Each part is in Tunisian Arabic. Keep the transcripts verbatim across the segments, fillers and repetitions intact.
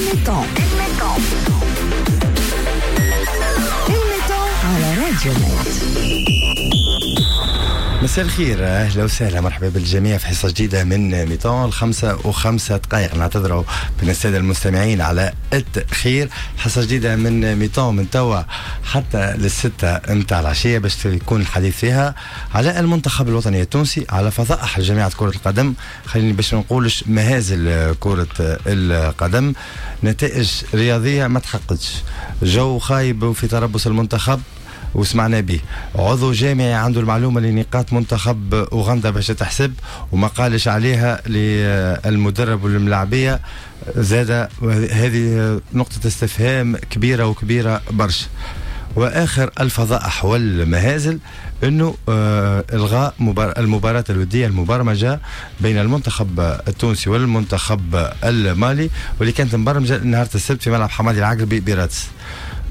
ال mi-temps ال mi-temps على راديو نت. مساء الخير، اهلا وسهلا، مرحبا بالجميع في حصة جديدة من mi-temps. الخمسة وخمسة دقائق، نعتذروا من السادة المستمعين على التاخير. حصة جديدة من mi-temps من توا حتى للستة متاع العشية باش يكون الحديث فيها على المنتخب الوطني التونسي، على فضائح جامعه كره القدم، خليني باش نقولش مهازل كره القدم، نتائج رياضية ما تحققتش، جو خايب في تربص المنتخب وسمعنا به، عضو جامعي عنده المعلومة لنقاط منتخب أوغندا باش تحسب وما قالش عليها للمدرب والملاعبية، زاد هذه نقطة استفهام كبيرة وكبيرة برشا. واخر الفضائح والمهازل انه آه الغاء المباراة الودية المبرمجه بين المنتخب التونسي والمنتخب المالي، واللي كانت مبرمجه نهار السبت في ملعب حمادي العقربي برادس.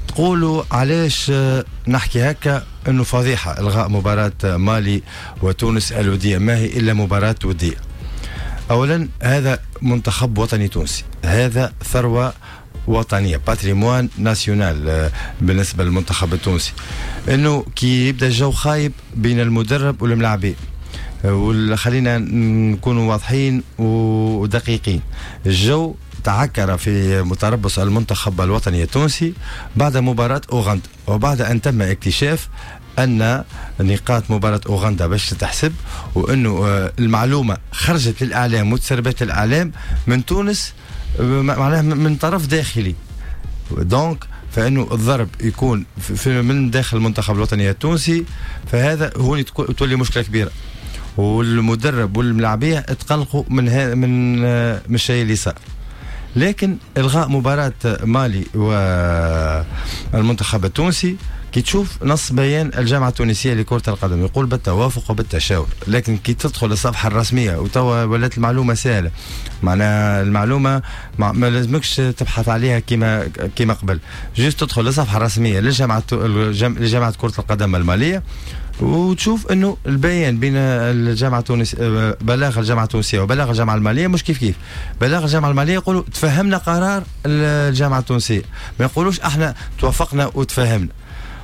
تقولوا علاش نحكي هكا؟ انه فضيحة الغاء مباراة مالي وتونس الوديه، ما هي الا مباراة وديه. اولا هذا منتخب وطني تونسي، هذا ثروة وطنيه، patrimoine national بالنسبة للمنتخب التونسي. انه كي يبدا الجو خايب بين المدرب والملاعبين، وخلينا نكونوا واضحين ودقيقين، الجو تعكر في متربص المنتخب الوطني التونسي بعد مباراة أوغندا، وبعد أن تم اكتشاف أن نقاط مباراة أوغندا باش تحسب، وأنه المعلومة خرجت للإعلام وتسربت الإعلام من تونس، معناها من طرف داخلي. donc فإنه الضرب يكون في من داخل المنتخب الوطني التونسي، فهذا هو تولي مشكلة كبيرة، والمدرب والملاعبية تقلقوا من من من الشيء اللي صار. لكن الغاء مباراة مالي والمنتخب التونسي، كي تشوف نص بيان الجامعة التونسية لكرة القدم يقول بالتوافق وبالتشاور، لكن كي تدخل الصفحة الرسمية وتوا ولات المعلومة سهلة، معناها المعلومة ما, ما لازمكش تبحث عليها كما كما قبل، juste تدخل للصفحة الرسمية للجامعة لجامعة كرة القدم المالية وتشوف انه البيان بين الجامعة التونسية، بلاغ الجامعة التونسية وبلاغ الجامعة المالية مش كيف كيف. بلاغ الجامعة المالية يقولوا تفهمنا قرار الجامعة التونسية، ما يقولوش احنا توافقنا وتفهمنا.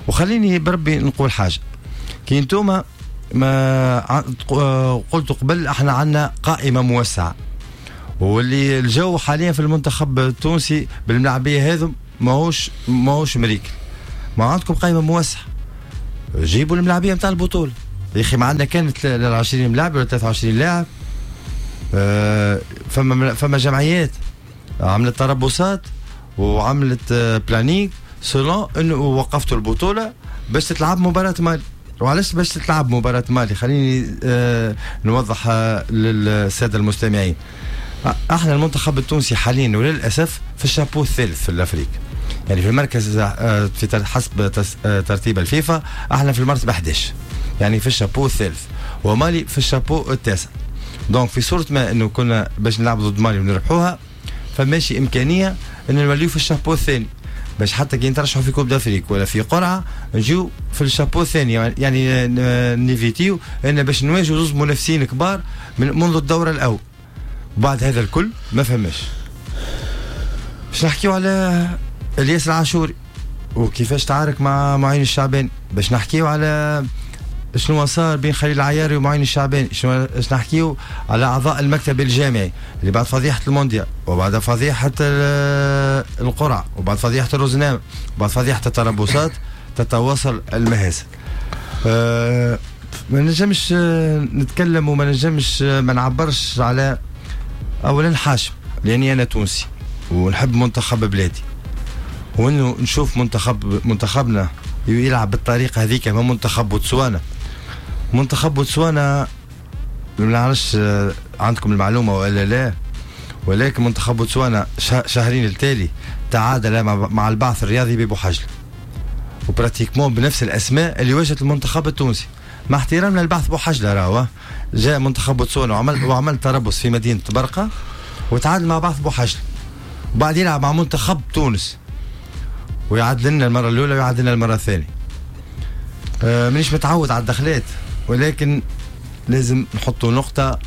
وخليني بربي نقول حاجة، كي انتوما ما قلت قبل احنا عندنا قائمة موسعه، واللي الجو حاليا في المنتخب التونسي بالملاعبيه هذم ماهوش ماهوش مريكل، ما عندكم قائمة موسعه، جيبوا الملاعبيه نتاع البطولة يا اخي. ما عندنا كانت ل عشرين ملاعب ولا ثلاثة وعشرين لاعب. أه فما فما جمعيات عملت تربصات وعملت planning selon انه وقفتوا البطولة باش تتلعب مباراة مالي. وعلاش باش تتلعب مباراة مالي؟ خليني أه نوضح للسادة المستمعين. احنا المنتخب التونسي حاليا وللاسف في الشابو الثالث في l'Afrique، يعني في المركز في حسب ترتيب الفيفا احنا في المرتبة أحد عشر، يعني في الشابو الثالث، ومالي في الشابو التاسع. donc في صوره ما انه كنا باش نلعب ضد مالي ونربحوها، فماشي امكانية ان نوليو في الشابو الثاني، باش حتى كي نترشحوا في Coupe d'Afrique ولا في قرعه نجيو في الشابو الثاني، يعني نيفيتيو ان باش نواجهوا زوج منافسين كبار من منذ الدور الاول. وبعد هذا الكل ما فهمش باش نحكيو على الياس العاشوري وكيفاش تعارك مع معين الشعباني، باش نحكيو على شنو صار بين خليل العياري ومعين الشعباني، شنو باش نحكيو على اعضاء المكتب الجامعي اللي بعد فضيحة المونديال وبعد فضيحة القرعة وبعد فضيحة الرزنامه وبعد فضيحة التربصات تتواصل المهازل. أه ما نجمش نتكلم وما نجمش ما نعبرش على اولا حاشم، لاني انا تونسي ونحب منتخب بلادي، وانه نشوف منتخب منتخبنا يلعب بالطريقة هذيك ما منتخب بوتسوانا. منتخب بوتسوانا ما نعرفش عندكم المعلومة ولا لا، ولكن منتخب بوتسوانا شهرين التالي تعادل مع البعث الرياضي ببوحجله، و pratiquement بنفس الاسماء اللي واجهت المنتخب التونسي. مع احترامنا للبعث بوحجله، راهو جاء منتخب بوتسوانا وعمل وعمل تربص في مدينة برقه وتعادل مع بعث بوحجله، وبعد يلعب مع منتخب تونس ويعادل لنا المرة الاولى ويعادل لنا المرة الثانية. أه مانيش متعود على الدخلات، ولكن لازم نحطوا نقطة،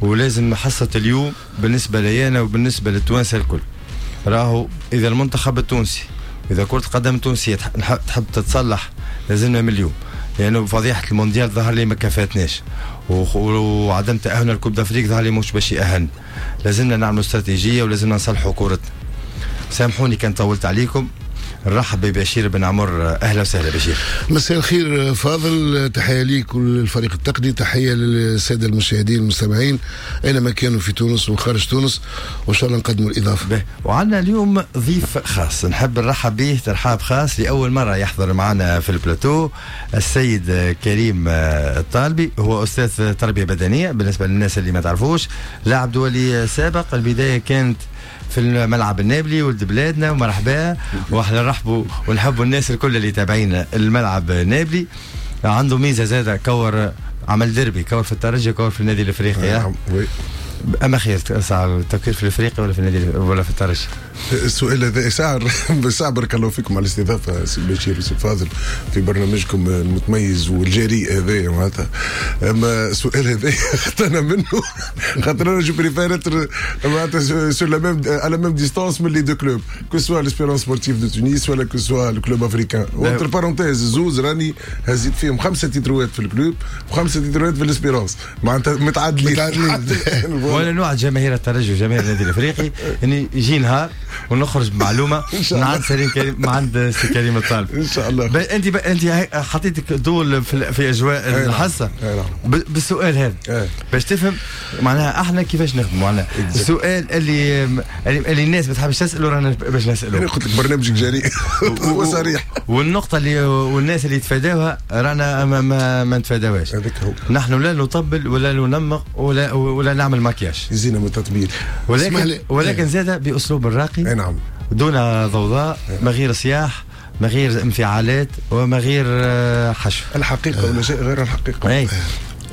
ولازم حصة اليوم بالنسبة لي انا وبالنسبة للتوانسه الكل. راهو اذا المنتخب التونسي، اذا كره القدم التونسية تحب تتصلح لازمنا من اليوم، لانه يعني فضيحة المونديال ظهر لي ما كفاتناش، وعدم تاهلنا ل Coupe d'Afrique ظهر لي مش باش يأهل. لازمنا نعملوا استراتيجية ولازمنا نصلحوا كورتنا. سامحوني كان طولت عليكم. نرحب ببشير بن عمر، اهلا وسهلا بشير. مساء الخير فاضل، تحية ليك وللفريق التقني، تحية للسادة المشاهدين المستمعين اينما كانوا في تونس وخارج تونس، وان شاء الله نقدموا الاضافة. وعندنا اليوم ضيف خاص نحب نرحب به ترحاب خاص، لاول مرة يحضر معنا في البلاتو السيد كريم الطالبي، هو استاذ تربيه بدنية بالنسبة للناس اللي ما تعرفوش، لاعب دولي سابق. البداية كانت في الملعب النابلي، ولد بلادنا ومرحبا، واحنا نرحبوا ونحبوا الناس الكل اللي تابعين الملعب النابلي. عنده ميزة زاده، كور عمل ديربي، كور في الترجي، كور في النادي الافريقي. اما خير التفكير في الافريقي ولا في النادي ولا في الترجي؟ السؤال هذا ساعر بس بارك الله فيكم على الاستضافة سي بشير وسي فاضل في برنامجكم المتميز والجريء هذايا معناتها. اما السؤال هذا اختنا منه خاطر انا je préfère être معناتها sur la même à la même distance من les deux clubs، que ce soit l'Espérance Sportive de Tunis ولا que ce soit le Club Africain. entre parenthèses زوز راني هزيت فيهم خمسة تيتروات في ال Club وخمسة تيتروات في l'Espérance، معناتها متعادلين. وانا نوعد جماهير الترجي وجماهير النادي الافريقي اني يجي نهار ونخرج بمعلومة من عند سليم كريم، من عند سي كريم الطالب ان شاء الله. انت ب... انت حطيتك دول في, في اجواء الحصة ب... بالسؤال هذا باش تفهم معناها احنا كيفاش نخدموا. معناها السؤال اللي اللي الناس ما تحبش تساله رانا باش نساله. انا قلت لك برنامجك جريء وصريح، والنقطة اللي والناس اللي يتفاداوها رانا ما, ما, ما نتفاداوهاش. نحن لا نطبل ولا ننمق ولا ولا نعمل مكياج، يزينا من التطبيل، ولكن ولكن زاد باسلوب راقي، نعم، دون ضوضاء، ما غير صياح، ما غير انفعالات، وما غير حشو. الحقيقة ولا شيء غير الحقيقة. اي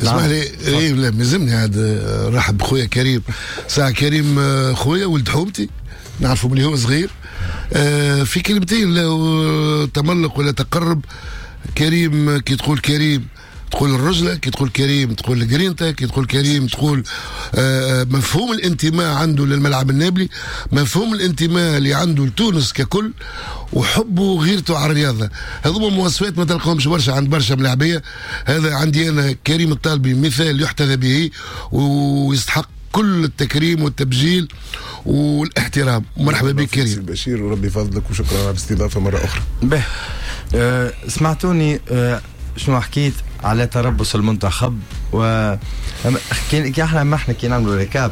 اسمح لي، اي لا مازلني عاد رحب بخويا كريم. ساعة كريم خويا ولد حومتي، نعرفه من هو صغير. في كلمتين لا تملق ولا تقرب. كريم كي تقول كريم تقول الرجلة، كي تقول كريم تقول الجرينتا، كي تقول كريم تقول مفهوم الانتماء عنده للملعب النابلي، مفهوم الانتماء اللي عنده لتونس ككل، وحبه وغيرته على الرياضة. هذوما مواصفات ما تلقاهمش برشا عند برشا ملاعبية. هذا عندي أنا كريم الطالبي مثال يحتذى به ويستحق كل التكريم والتبجيل والاحترام. مرحبا بك كريم بشير، وربي يفضلك وشكرا على الاستضافة مرة أخرى. به أه سمعتوني أه شنو حكيت على تربص المنتخب، و كي احنا ما احنا كي نعملوا récap،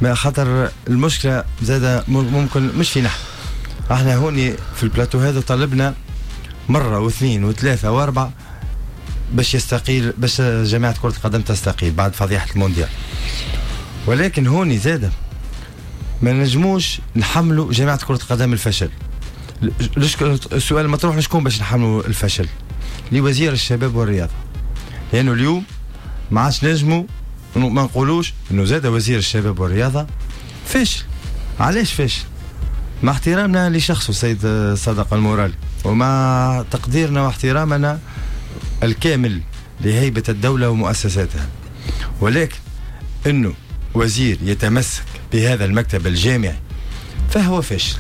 ما خاطر المشكلة زاده ممكن مش فينا احنا هوني في البلاتو هذا. طلبنا مرة واثنين وثلاثة واربعة باش يستقيل، باش جامعه كره القدم تستقيل بعد فضيحة المونديال، ولكن هوني زاده ما نجموش نحملوا جامعه كره القدم الفشل. السؤال المطروح شكون باش نحملوا الفشل؟ لوزير الشباب والرياضة، لانه اليوم ما عادش نجموا ما نقولوش انه زاد وزير الشباب والرياضة فاشل. علاش فاشل؟ مع احترامنا لشخصه السيد صادق المورالي، ومع تقديرنا واحترامنا الكامل لهيبه الدولة ومؤسساتها، ولكن انه وزير يتمسك بهذا المكتب الجامعي فهو فاشل.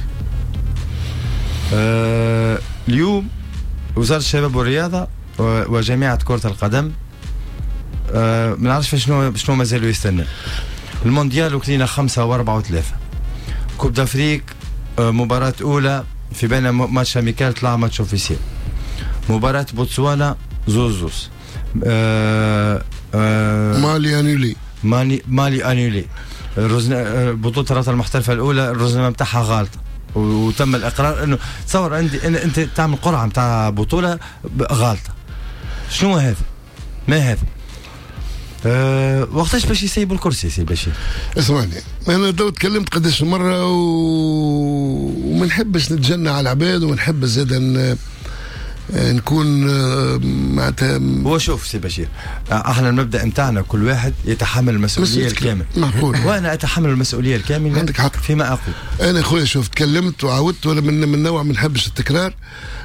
أه اليوم وزارة الشباب والرياضة وجامعة كرة القدم أه ما نعرفش شنو شنو مازالوا يستنى. المونديال وكلينا خمسة وأربعة وثلاثة، Coupe d'Afrique أه مباراة أولى في بين match amical طلع match officiel، مباراة بوتسوانا زوز زوز، أه أه مالي annulée، مالي مالي annulée، بطولة الرابطة المحترفة الأولى الرزنامة نتاعها غالطة وتم الاقرار انه تصور عندي إن انت تعمل قرعه نتاع بطوله غالطه. شنو هذا؟ ما هذا؟ أه وقتاش باش يسيبوا الكرسي سي بشير؟ اسمعني، انا تو تكلمت قداش مرة و... وما نحبش نتجنى على العباد، وما نحبش زاد ان نكون معناتها. هو شوف سي بشير، احنا المبدا نتاعنا كل واحد يتحمل المسؤولية الكاملة. معقول. وانا اتحمل المسؤولية الكاملة. عندك حق فيما اقول. انا خويا شوف تكلمت وعاودت، ولا من من نوع ما نحبش التكرار،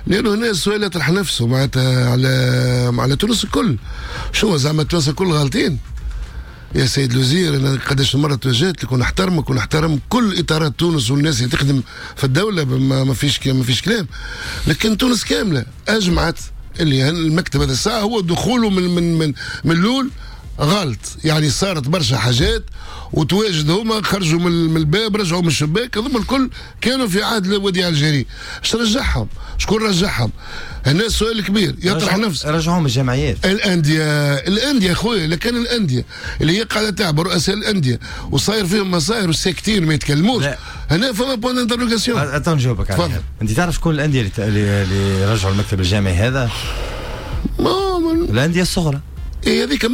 لانه هنا السؤال يطرح نفسه معناتها على على تونس الكل. شو زعما تونس الكل غالطين؟ يا سيد الوزير، انا قداش مرة توجهت لك ونحترمك ونحترم كل اطارات تونس والناس اللي تخدم في الدولة، ما فيش ما فيش كلام، لكن تونس كاملة اجمعت اللي المكتب هذا الساعة هو دخوله من من من من الاول غلط. يعني صارت برشا حاجات وتواجد هما خرجوا من الباب رجعوا من الشباك، هذوما الكل كانوا في عهد وديع الجري. اش رجعهم؟ شكون رجعهم؟ هنا السؤال كبير يطرح نفسه. رجعوهم الجمعيات، الاندية، الاندية خويا. لكن الاندية اللي هي قاعدة تعب رؤساء الاندية وصاير فيهم مصاير وساكتين ما يتكلموش، هنا فما point d'interrogation. اتو نجاوبك عليها. انت تعرف شكون الاندية اللي اللي رجعوا المكتب الجامعي هذا؟ ما الاندية الصغرى. إيه هذيك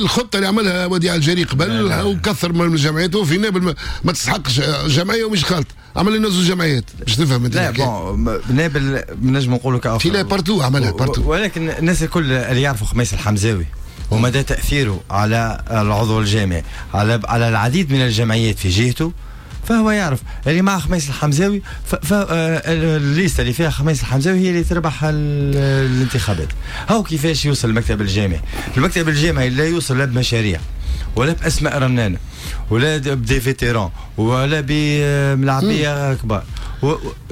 الخطة اللي عملها وديع الجري قبل وكثر من الجمعيات، وفي نابل ما تستحقش جمعية ومش خالط، عمل لنا زوج جمعيات باش تفهم انت. لا bon نابل نجم نقولوا كأفضل لا partout عملها partout، ولكن الناس الكل اللي يعرفوا خميس الحمزاوي ومدى تاثيره على العضو الجامعي على على العديد من الجمعيات في جهته، فهو يعرف اللي مع خميس الحمزاوي، فال liste اللي فيها خميس الحمزاوي هي اللي تربح الانتخابات. هو كيفاش يوصل المكتب الجامعي؟ المكتب الجامعي لا يوصل لا بمشاريع ولا باسماء رنانه ولا ب des vétérans ولا بملاعبيه كبار.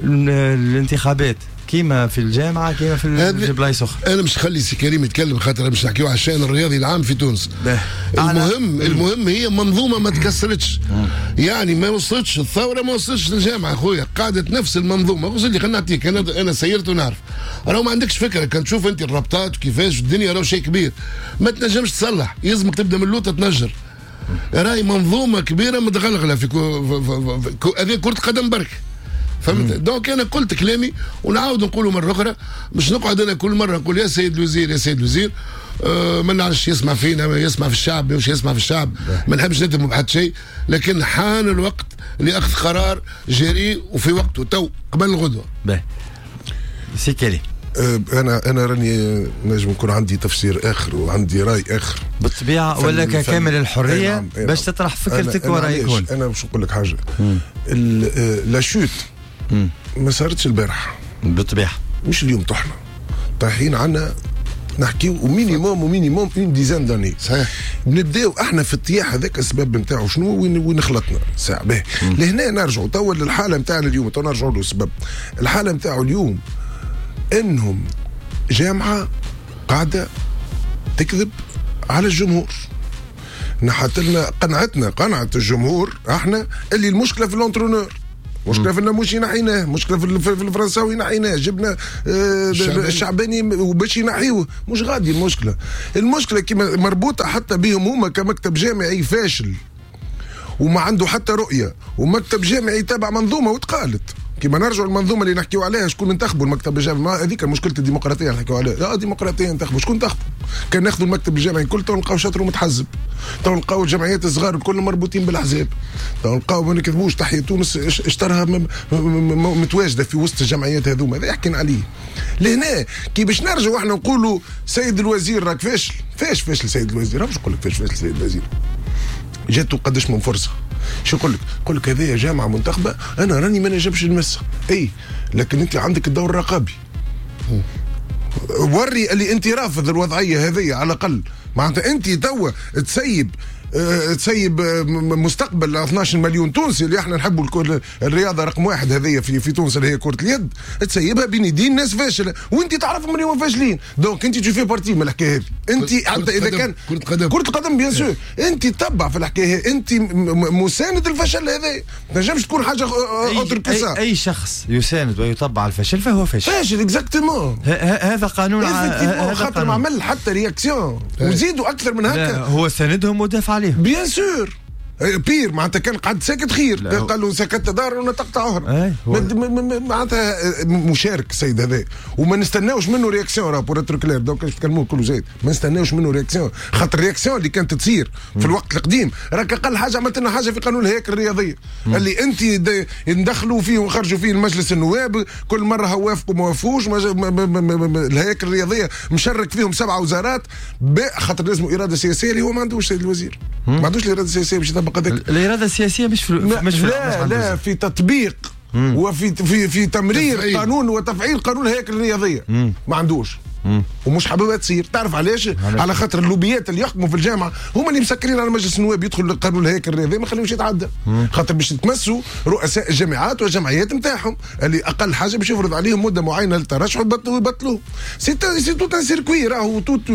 الانتخابات كيما في الجامعة كيما في البلايص اخرى. انا مش خلي سي كريم يتكلم خاطر مش نحكيو على الشان الرياضي العام في تونس. المهم المهم هي منظومة ما تكسرتش، يعني ما وصلتش الثورة، ما وصلتش للجامعة خويا، قعدت نفس المنظومة. وصل لي خلينا نعطيك، انا انا سيرت ونعرف، راهو ما عندكش فكرة كان تشوف انت الربطات وكيفاش الدنيا، راهو شيء كبير ما تنجمش تصلح، يلزمك تبدا من اللوطه تنجر. راهي منظومة كبيرة متغلغله في هذه كره قدم برك، فهمت؟ donc انا قلت كلامي ونعاود نقوله مرة اخرى، مش نقعد انا كل مرة نقول يا سيد الوزير يا سيد الوزير. أه ما نعرفش يسمع فينا، يسمع في الشعب، مش يسمع في الشعب، ما نحبش نتهمه بحد شيء، لكن حان الوقت لاخذ قرار جريء وفي وقته تو قبل الغدوه. باهي سي كريم، انا انا راني نجم نكون عندي تفسير اخر وعندي راي اخر بالطبيعة، ولا كامل الحرية نعم باش تطرح فكرتك ورايك. هون انا باش نقول لك حاجة، la chute ما صارتش البارح بالطبيعة، مش اليوم طحنا طايحين عنا نحكيو minimum و minimum une dizaine d'années. صحيح نبداو احنا في الطياح هذاك السبب نتاعو شنو وين وين خلطنا ساعة باهي. لهنا نرجعوا توا للحالة نتاعنا اليوم، تو نرجعوا له السبب. الحالة نتاعو اليوم انهم جامعه قاعدة تكذب على الجمهور، نحت لنا قنعتنا قنعت الجمهور احنا اللي المشكلة في l'entraîneur، مشكلة في النموشي نحيناه، مشكلة في الفرنساوي نحيناه، جبنا آه الشعباني وباش ينحيوه، مش غادي المشكلة. المشكلة كما مربوطة حتى بهم هما كمكتب جامعي فاشل وما عنده حتى رؤية، ومكتب جامعي تابع منظومة وتقالت كما نرجعوا المنظومة اللي نحكيو عليها، شكون انتخبوا المكتب الجامعي؟ هذيك مشكلة الديمقراطية اللي نحكيو عليها. لا ديمقراطية انتخبوا، شكون انتخبوا؟ كان ناخذوا المكتب الجامعي الكل تو نلقاو شطر متحزب، تو نلقاو الجمعيات الصغار الكل مربوطين بالاحزاب، تو نلقاو ما نكذبوش تحيا تونس اشترها متواجدة في وسط الجمعيات هذوما، هذا يحكينا عليه. لهنا كي باش نرجعوا احنا نقولوا سيد الوزير راك فاشل، فاش فاشل سيد الوزير؟ باش نقول لك فاش فاشل سيد الوزير، جاتو قداش من فرصة. شو يقول لك؟ يقول لك هذه جامعه منتخبه انا راني ما نجمش نمسها، اي لكن انت عندك الدور الرقابي، وري اللي انت رافض الوضعية هذه على الاقل. معناتها انت توا تسيب أه تسيب مستقبل اثناش مليون تونسي اللي احنا نحبوا الرياضة رقم واحد هذه في في تونس اللي هي كره اليد، تسيبها بين يدين ناس فاشلة وانت تعرفهم اللي هما فاشلين، donc انت tu fais partie من الحكاية هذه. انت حتى اذا كان كره قدم كره القدم bien sûr انت تتبع في الحكاية، انت مساند الفشل هذا، ما تنجمش تكون حاجة autre que ça. اي, أي شخص يساند ويطبع الفشل فهو فاشل، فاشل exactement. هذا قانون، هذا خاطر ما عمل حتى réaction وزيدوا اكثر من هكا، هو ساندهم ودافع عليهم bien sûr. pire معناتها كان قعد ساكت خير، قال له سكت دار ونطقت عهر، معناتها مشارك السيد هذا وما نستناوش منه réaction، راه pour être clair donc باش تكلموه كله زايد، ما نستناوش منه réaction، خاطر réaction اللي كانت تصير في الوقت القديم راك اقل حاجة عملت لنا حاجة في قانون الهياكل الرياضية اللي انت ندخلوا فيه ونخرجوا فيه المجلس النواب كل مرة وافقوا ما وافقوش، الهياكل الرياضية مشارك فيهم سبعة وزارات، خاطر لازم اراده سياسية اللي هو ما عندوش السيد الوزير، ما عندوش الارادة السياسية باش يطبق هذاك. الارادة السياسية مش في مش في لا مش لا في تطبيق مم. وفي في في تمرير تفعيل. قانون وتفعيل قانون الهياكل الرياضية. مم. ما عندوش. ومش حاببها تصير. تعرف علاش؟ على خاطر اللوبيات اللي يحكموا في الجامعة هما اللي مسكرين على مجلس النواب يدخل القانون الهيكل الرياضي ما خليهمش يتعدى، خاطر باش يتمسوا رؤساء الجامعات والجمعيات نتاعهم اللي اقل حاجة باش يفرض عليهم مده معينة للترشح ويبطلوا ويبطلوه. c'est c'est tout un circuit، راهو tout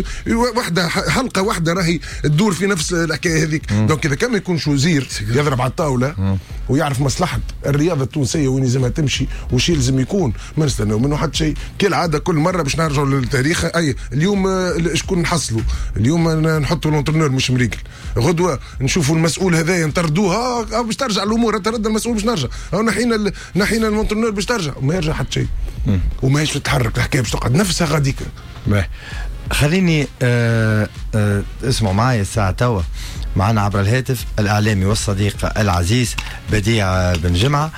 واحدة حلقة واحدة راهي تدور في نفس الحكاية هذيك. donc اذا كان ما يكونش وزير يضرب على الطاولة ويعرف مصلحة الرياضة التونسية وين لازمها تمشي وش يلزم يكون، ما نستناو منه حتى شيء. كالعادة كل مرة باش نرجعوا للتاريخ. اي اليوم شكون نحصلوا؟ اليوم نحطوا l'entraîneur مش مريكل، غدوه نشوفوا المسؤول هذايا نطردوه باش ترجع الامور، ترد المسؤول باش نرجع، او نحينا نحينا l'entraîneur باش ترجع، وما يرجع حتى شيء وماهيش تتحرك الحكاية باش تقعد نفسها غاديك. خليني أه أه اسمعوا معايا الساعة توا، معنا عبر الهاتف الإعلامي والصديق العزيز بديع بن جمعة،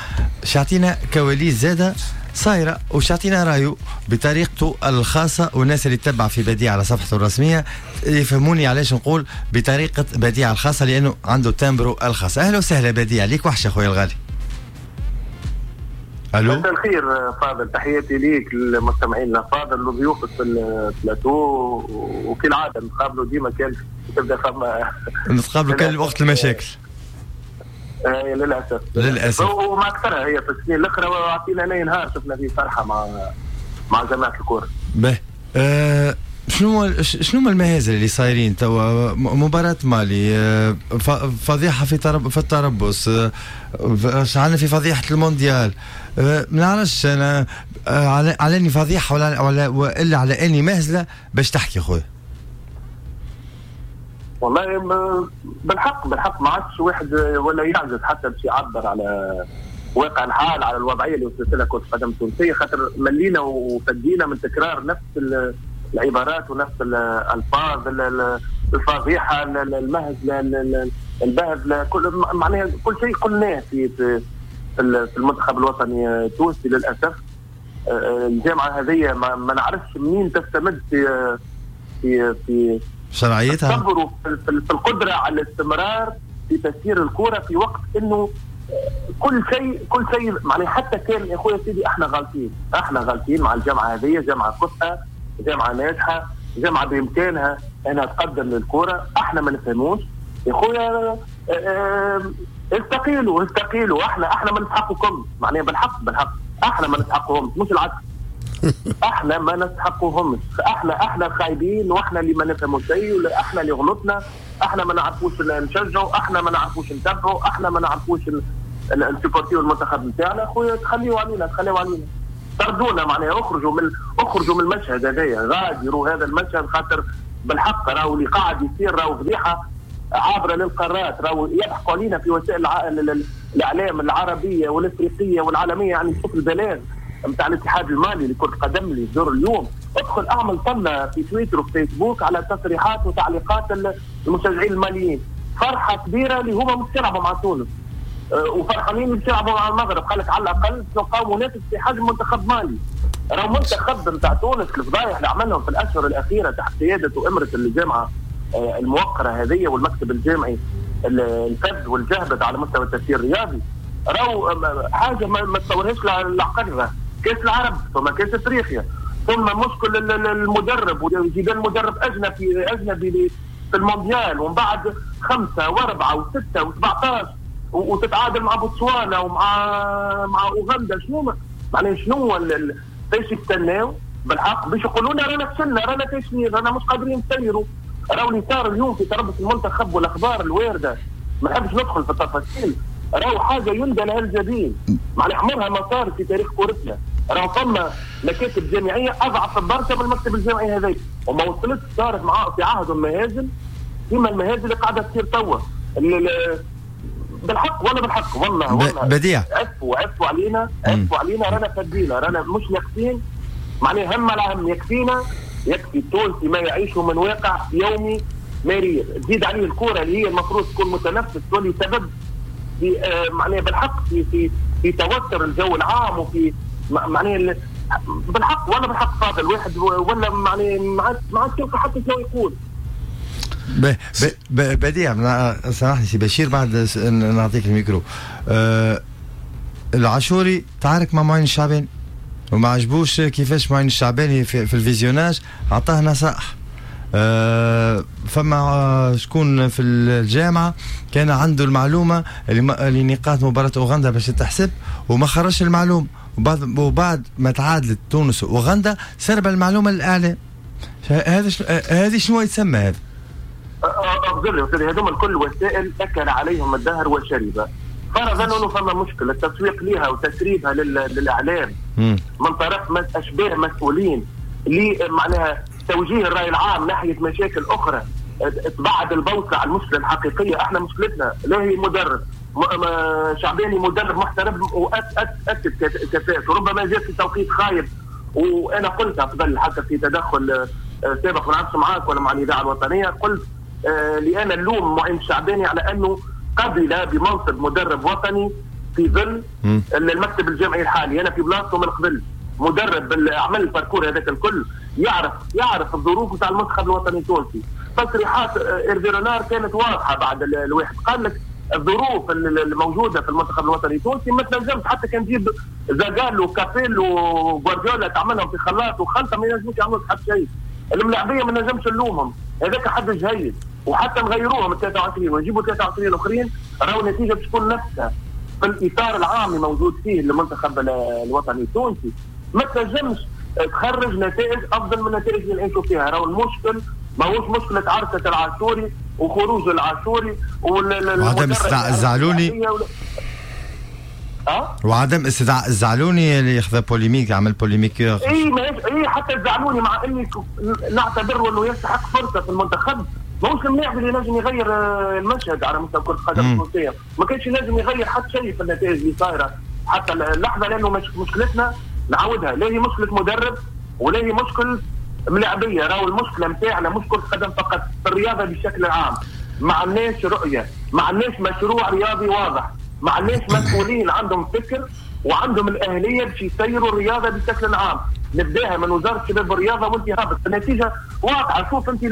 شعطينا كواليس زادة صايرة وشعطينا رايه بطريقته الخاصة، والناس اللي تتبع في بديع على صفحته الرسمية يفهموني علاش نقول بطريقة بديع الخاصة، لأنه عنده timbre الخاص. أهلا وسهلا بديع، ليك وحشة خويا الغالي. الو، مساء الخير فاضل، تحياتي ليك للمستمعين الافاضل وضيوفك في البلاتو، وكالعادة نتقابلوا ديما كان تبدا فما نتقابلوا كان وقت المشاكل. آه للاسف للاسف، وما اكثرها هي في السنين الاخرى، وعطينا نهار شفنا فيه فرحه مع مع جماعة الكورة. باهي، آه شنو شنو هما المهازل اللي صايرين توا؟ مباراة مالي، فضيحة في ترب في التربص، عندنا في فضيحة المونديال، ما نعرفش انا على على اني فضيحة ولا ولا والا على اني مهزلة باش تحكي خويا. والله بالحق بالحق ما عادش واحد ولا يعجز حتى باش يعبر على واقع الحال، على الوضعية اللي وصلت لها كرة القدم التونسية، خاطر ملينا وفدينا من تكرار نفس العبارات ونفس الالفاظ، الفضيحة، المهزلة، البهذله، كل معناها كل شيء قلناه في في في المنتخب الوطني التونسي. للاسف الجامعة هذه ما, ما نعرفش منين تستمد في في في شرعيتها، في, في القدرة على الاستمرار في تسيير الكره في وقت انه كل شيء كل شيء معناها. حتى كان يا خويا سيدي احنا غالطين، احنا غالطين مع الجامعة هذه، جامعه كفءه، جامعة ناجحة، جامعة بإمكانها أنها تقدم للكرة، احنا ما نفهموش يا خويا. اه استقيلوا استقيلوا، احنا احنا ما نستحقكم، معناها بالحق بالحق احنا ما نستحقهم، مش العكس. احنا ما نستحقهمش، احنا احنا خايبين، واحنا اللي ما نفهموا شيء، ولا احنا اللي غلطنا، احنا ما نعرفوش نشجعوا، احنا ما نعرفوش نتبعوا، احنا ما نعرفوش نسيبورتيو المنتخب نتاعنا. خويا تخليوا علينا، تخليوا علينا، طردونا، معناها اخرجوا من اخرجوا من المشهد هذايا، غادروا هذا المشهد، خاطر بالحق راهو اللي قاعد يصير راهو فضيحة عابرة للقارات، راهو يضحكوا علينا في وسائل الع... الاعلام العربية والافريقيه والعالمية. يعني شوف البلاغ نتاع الاتحاد المالي لكرة القدم اللي يصدر اليوم، ادخل اعمل طلة في تويتر وفي فيسبوك على تصريحات وتعليقات المشجعين الماليين، فرحه كبيرة اللي هما مش يلعبوا مع تونس وفرحانين اللي يلعبوا مع المغرب، قال لك على الاقل نلقاو منافس في حجم منتخب مالي. راهو منتخب نتاع تونس الفضايح اللي عملهم في الاشهر الاخيرة تحت قيادة وامره الجامعة الموقره هذه والمكتب الجامعي الفذ والجهبذ على مستوى التسيير الرياضي، راهو حاجة ما تصورهاش العقل. كاس العرب ثم كاس افريقيا ثم مشكل المدرب وجدال مدرب اجنبي اجنبي في المونديال، ومن بعد خمسة واربعة وستة وسبعة عشر وتتعادل مع بوتسوانا ومع مع اوغندا. شنو معناها شنو فاش يستناو بالحق باش يقولوا لنا رانا فشلنا، رانا فاشلين، رانا مش قادرين نسيروا؟ راهو اللي صار اليوم في تربص المنتخب والاخبار الواردة، ما نحبش ندخل في التفاصيل، راهو حاجة يندى لها الجبين، معناها عمرها ما صار في تاريخ كورتنا. راهو فما مكاتب جامعية اضعف برشا من المكتب الجامعي هذاك، وما وصلتش صارت مع في عهد المهازل كيما المهازل اللي قاعدة تصير توا. بالحق ولا بالحق والله والله بديع، عفوا عفوا علينا، عفوا علينا، رانا فدينا، رانا مش ناقصين، معناها هم على هم، يكفينا، يكفي التونسي ما يعيشه من واقع يومي مرير، تزيد عليه الكورة اللي هي المفروض تكون متنفس تولي سبب في آه معناها بالحق في في في توتر الجو العام وفي معناها بالحق ولا بالحق فاضل واحد ولا معناها ما عادش يلقى حتى شنو يقول. بديع، سامحني سي بشير بعد نعطيك الميكرو. أه العاشوري تعارك مع معين الشعباني، وما عجبوش كيفاش معين الشعباني في, في ال visionnage عطاه نصائح. أه فما شكون في الجامعة كان عنده المعلومة اللي نقاط مباراة اوغندا باش تحسب وما خرجش المعلومة، وبعد وبعد ما تعادلت تونس واوغندا سرب المعلومة للاعلام. هذا هذه شنو يتسمى هذا؟ اغزر لي هذوما الكل وسائل اكل عليهم الدهر وشرب. فرضا انه فما مشكلة التسويق لها وتسريبها للاعلام من طرف اشباه مسؤولين اللي معناها توجيه الراي العام ناحية مشاكل اخرى تبعد البوصلة على المشكلة الحقيقية. احنا مشكلتنا لا هي مدرب شعباني، مدرب محترم واكد كفاءته، ربما جاء في توقيت خايب، وانا قلت قبل حتى في تدخل سابق ما نعرفش معاك ولا مع الاذاعة الوطنية، قلت لان اللوم معين الشعباني على انه قبل بمنصب مدرب وطني في ظل المكتب الجامعي الحالي. انا في بلاصته من قبل مدرب عمل ال parcours هذاك الكل، يعرف يعرف الظروف نتاع المنتخب الوطني التونسي. تصريحات إيرفي رونار كانت واضحة بعد الواحد، قال لك الظروف الموجودة في المنتخب الوطني التونسي ما تنجمش حتى كان تجيب زاغالو وكابيلو وغوارديولا تعملهم في خلاط وخلطه ما ينجموش يعملوا حتى شيء. الملاعبيه ما نجمش نلومهم، هذاك حد جيد، وحتى نغيروهم ثلاثة وعشرين ونجيبوا ثلاثة وعشرين اخرين راهو النتيجة باش تكون نفسها. في الاطار العام الموجود فيه المنتخب الوطني التونسي ما تنجمش تخرج نتائج افضل من النتائج اللي نعيشوا فيها. راهو المشكل ماهوش مشكلة عرسه العاشوري وخروج العاشوري وعدم استدعاء الزعلوني أه؟ وعدم استدعاء الزعلوني اللي ياخذ polémique، عمل polémique. اي ما اي حتى الزعلوني مع اني نعتبر انه يستحق فرصة في المنتخب، ماهوش اللاعب اللي نجم يغير المشهد على مستوى كره القدم التونسية، ما كانش ينجم يغير حتى شيء في النتائج اللي صايرة حتى اللحظة، لانه مش مشكلتنا نعاودها لا هي مشكلة مدرب ولا هي مشكلة ملاعبيه. راهو المشكلة نتاعنا مش كره قدم فقط، في الرياضة بشكل عام ما عندناش رؤية، ما عندناش مشروع رياضي واضح، ما عندناش مسؤولين عندهم فكر وعندهم الاهلية باش يسيروا الرياضة بشكل عام. نبداها من وزارة الشباب والرياضة وانت هابط، النتيجة واضحة. شوف انت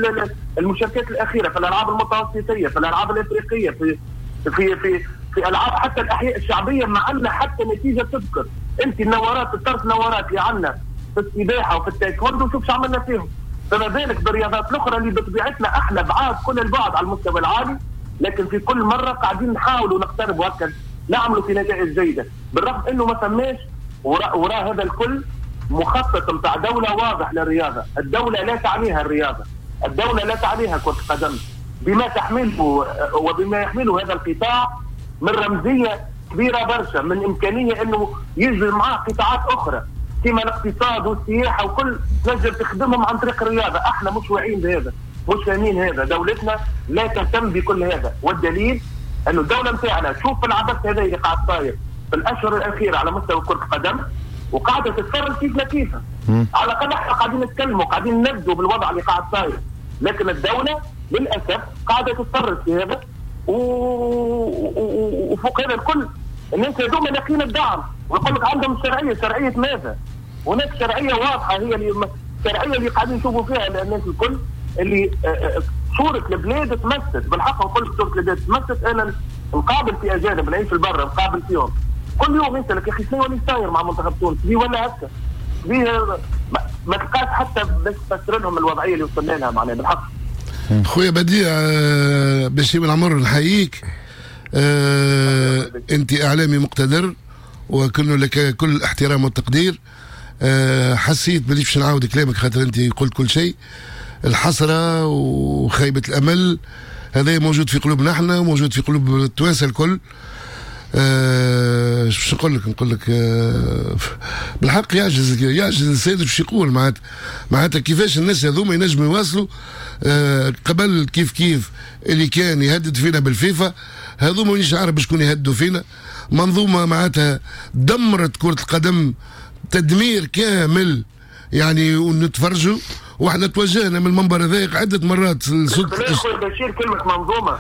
المشاركات الاخيرة في الالعاب المتوسطيه، في الالعاب الافريقية، في في في في العاب حتى الاحياء الشعبية ما عندنا حتى نتيجة تذكر. انت النورات الطرف نورات اللي عندنا في السباحة وفي التايكوندو شوف شو عملنا فيهم، فما بالك بالرياضات الاخرى اللي بطبيعتنا احنا بعاد كل البعد على المستوى العالي، لكن في كل مرة قاعدين نحاولوا نقتربوا هكا نعملوا في نتائج جيدة، بالرغم انه ما فماش وراء وراء هذا الكل مخطط نتاع دولة واضح للرياضة. الدولة لا تعنيها الرياضة، الدولة لا تعنيها كره القدم بما تحمله وبما يحمله هذا القطاع من رمزية كبيرة برشا، من امكانية انه يجري معاه قطاعات اخرى كما الاقتصاد والسياحة وكل تنجم تخدمهم عن طريق الرياضة. احنا مش واعيين بهذا، مش فاهمين هذا، دولتنا لا تهتم بكل هذا. والدليل انه الدولة نتاعنا تشوف العبث هذا اللي قاعد صاير في الاشهر الاخيرة على مستوى كره القدم وقاعدة تتفرج كيف لا كيفها. على الاقل احنا قاعدين نتكلموا قاعدين نبدوا بالوضع اللي قاعد صاير، لكن الدولة للاسف قاعدة تتفرج في هذا و... و... وفوق هذا الكل الناس هذوما لاقين الدعم ويقول لك عندهم شرعية. شرعية ماذا؟ هناك شرعية واضحة هي اللي الشرعية اللي قاعدين نشوفوا فيها الناس الكل اللي صوره البلاد تمست. بالحق نقول لك صوره البلاد تمست. انا نقابل في اجانب نعيش في البر نقابل فيهم كل يوم يسالك يا اخي شنو اللي صاير مع منتخب تونس ليه ولا هكا ليه ما تلقاش حتى باش تفسر لهم الوضعية اللي وصلنا لها معناها بالحق. خويا بديع بشير بن عمر نحييك، أه انت اعلامي مقتدر وكل لك كل الاحترام والتقدير. أه حسيت بلي باش نعاود كلامك خاطر انت قلت كل شيء. الحسرة وخيبه الامل هذا موجود في قلوبنا احنا وموجود في قلوب التوانسة الكل. أه باش نقول لك نقول لك أه بالحق يعجز يعجز الانسان باش يقول معناتها معناتها كيفاش الناس هذوما ينجموا يواصلوا. أه قبل كيف كيف اللي كان يهدد فينا بالفيفا هذوما مانيش عارف شكون يهددوا فينا. منظومة معناتها دمرت كره القدم تدمير كامل يعني، ونتفرجوا واحنا توجهنا من المنبر هذا عده مرات. خويا بشير كلمة منظومة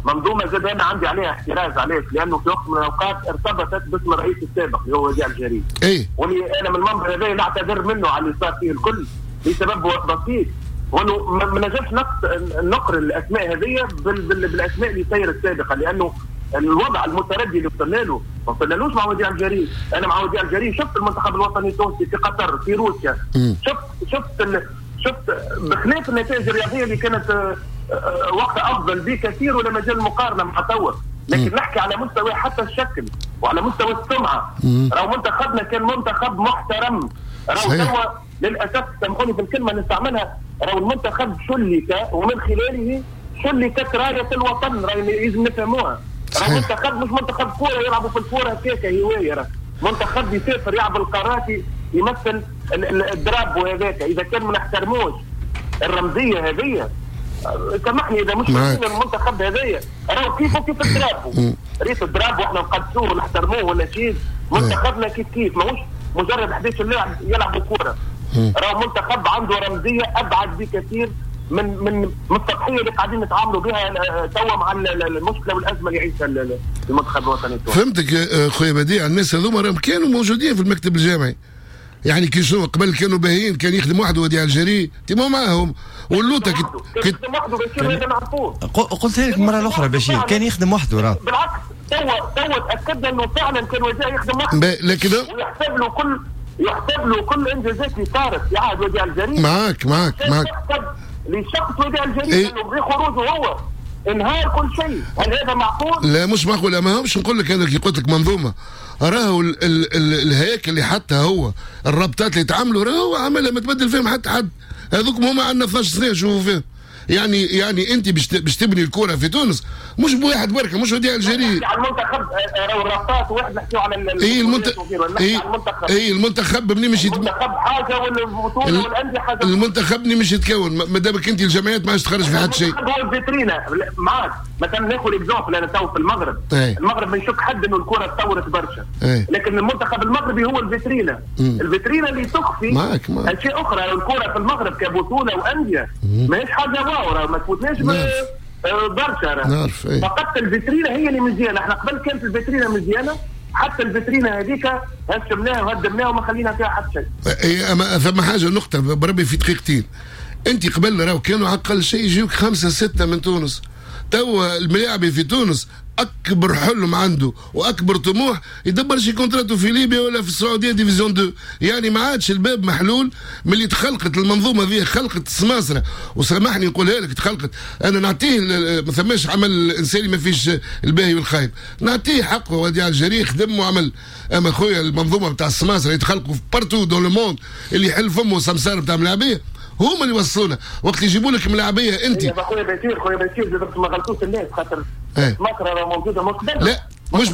منظومة زاد انا عندي عليها احتراز. علاش؟ لانه في وقت من الاوقات ارتبطت باسم الرئيس السابق اللي هو وديع الجريء. ايه واللي انا من المنبر هذا نعتذر منه على اللي صار فيه الكل لسبب بسيط، وانه ما نجمش نقر الاسماء هذه بالاسماء اللي صايرة السابقة، لانه الوضع المتردي اللي وصلنا له ما وصلنالوش مع وديع الجريء. انا مع وديع الجريء شفت المنتخب الوطني التونسي في قطر في روسيا، شفت شفت ال... شفت بخلاف النتائج الرياضية اللي كانت وقت افضل بكثير ولا مجال المقارنة مع توا، لكن نحكي على مستوى حتى الشكل وعلى مستوى السمعة. راهو منتخبنا كان منتخب محترم، راهو توا للاسف سامحوني في الكلمة نستعملها، راهو المنتخب شلك ومن خلاله شلكت رايه الوطن، راهي لازم نفهموها. راهو منتخب مش منتخب كورة يلعبوا في الكورة هكاك هواية، راه منتخب يسافر يلعب القارات يمثل ال drapeau هذاك. اذا كان ما نحترموش الرمزية هذه، سامحني اذا مش المنتخب هذايا راهو كيفه كيف ال drapeau، ريت ال drapeau احنا نقدسوه ونحترموه ولا شيء، منتخبنا كيف كيف ماهوش مجرد أحد عشر لاعب يلعبوا كورة، راهو منتخب عنده رمزية ابعد بكثير من من من التضحية اللي قاعدين نتعاملوا بها توا مع المشكلة والازمة اللي يعيشها المنتخب الوطني التونسي. فهمتك خويا بديع. الناس هذوما راهم كانوا موجودين في المكتب الجامعي، يعني كي شنو قبل كانوا باهيين، كان يخدم وحده وديع الجريء تيمو معاهم واللوطه كي كان يخدم وحده بشير، هذا نعرفوه. قلت لك المرة الاخرى بشير كان يخدم وحده، راه بالعكس توا توا تاكدنا انه فعلا كان وديع يخدم وحده، لكن ويحسب له كل يحسب له كل انجازات اللي صارت في عهد وديع الجريء. معاك معاك معاك لشخص وديع الجريء إيه؟ انه بخروجه هو انهار كل شيء. هل هذا معقول؟ لا مش معقول. ما همش نقول لك انا كي قلت لك منظومة، راهو ال ال ال الهياكل اللي حتى هو الرابطات اللي تعملوا راهو عملها ما تبدل فيهم حتى حد، هذوك هما عندنا اثناش سنة نشوفوا فيهم. يعني يعني انت باش باش تبني الكره في تونس مش بواحد بركة، مش وديع الجريء. على المنتخب راهو الرابطات واحد نحكيو على اي المنتخب، اي اي المنتخب منين مش المنتخب حاجة والبطوله والاندية حاجة. المنتخب منين مش يتكون ما دامك انت الجمعيات ما عادش تخرج في حد شيء. هو الفيترينا معاك. مثلا ناخذ exemple انا تو في المغرب، ايه. المغرب ما يشك حد انه الكره تطورت برشا، ايه. لكن المنتخب المغربي هو الفيترينا، الفيترينا اللي تخفي معاك معاك. اشياء اخرى. الكره في المغرب كبطوله وانديه ماهيش حاجة واو، ما تفوتناش برشا. نعرف ايه. فقط الفيترينا هي اللي مزيانه. احنا قبل كانت الفيترينا مزيانه، حتى الفيترينا هذيك هشمناها وهدمناها وما خلينا فيها حتى شيء. اي اما ثم حاجة نقطة بربي في دقيقتين. انت قبل راهو كانوا على اقل شيء يجيوك خمسة ستة من تونس. توا الملاعبي في تونس اكبر حلم عنده واكبر طموح يدبر شي contrat في ليبيا ولا في السعودية division deux. يعني ما عادش الباب محلول من اللي تخلقت المنظومة ذي، خلقت السماسره. وسامحني نقولها لك تخلقت، انا نعطيه ما ثماش عمل انساني ما فيش الباهي والخايب، نعطيه حقه وديع الجريء خدم وعمل. اما خويا المنظومة نتاع السماسره اللي تخلقوا في partout dans le monde، اللي يحل فمه سمسار نتاع ملاعبيه هما اللي وصلونا. وقت يجيبوا لك ملاعبيه انت يا خويا بشير، خويا بشير ما غلطوش الناس خاطر ايه. مصر موجودة من قبل. لا مش